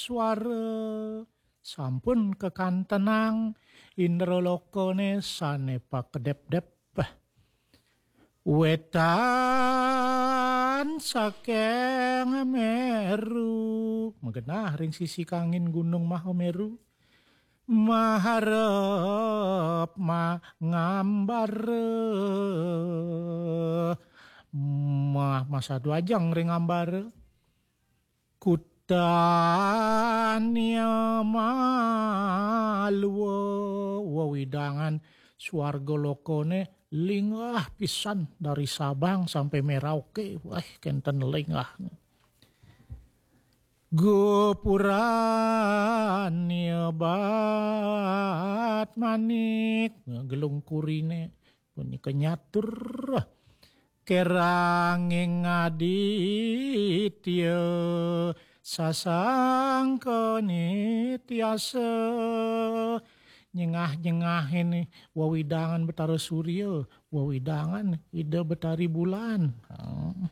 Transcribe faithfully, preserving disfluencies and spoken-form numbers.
suara. Sampun kekantenang indra lokane sane pakedep-dep. Wetan saking Meru, magenah ring sisi kangin Gunung Mahameru. Maharep mangambar, mah masadu ajeng ring ambar. Kutania malwa, wewidangan swarga lokane linggah pisan dari Sabang sampai Merauke. Wah, kenten linggah. Gopurania bat manik, gelung kurine punika nyatur. Keranging aditya sasangka nityasa. Nyengah-nyengahin wewidangan Betara Surya, wewidangan Ida Betari Bulan. Hmm.